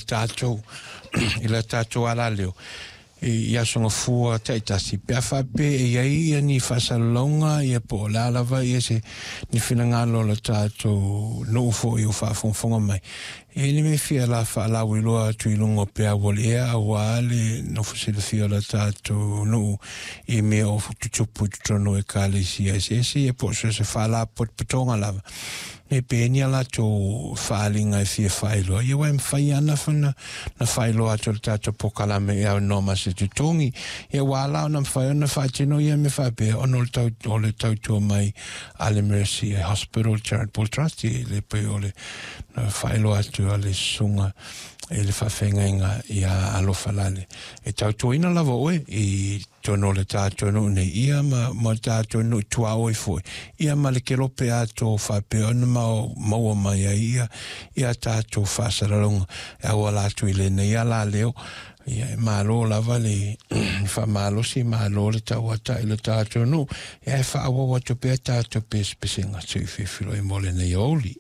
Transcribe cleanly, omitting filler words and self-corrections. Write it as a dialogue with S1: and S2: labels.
S1: Tatou i la tatou alaleo i aso gafua taitasi, pe a faapea e i ai ia ni faasalalauga ia po o le a lava ia se ni finagalo o le tatou nuu foi o faafogafoga mai, e le mea fia la faalauiloa atu i luga o peau o le ea auā le nofo silafia o le tatou nuu i mea o tutupu i totonu o ekalesia eseese ia po o so o se faalapotopotoga lava. Me pe ni a latou faaaliga e fia faailoa, ia ua e mafai ana fana na faailoa atu le tatou polokalame e aunoa ma se totogi. Ia ua ala ona mafai ona faatino ia mea faapea ona o le tau, o le tautua mai a le Mercy Hospital Charitable Trust i le pei o le na faailoa atu a le susuga i le faafeagaiga ia Alofa Lale. E tautuaina lava oe i totonu o le tatou nuu nei, ia ma, ma tatou nuu tuaoi foi, ia ma le kelope atoa faapea ona maua mai ai ia, ia tatou faasalalauga e auala atu i lenei alaleo. Ia e malo lava le faamalosi, malo le tauata i le tatou nuu, ia e faaauau atu pea tatou pesepesega. Seu fefiloi mo lenei aoauli.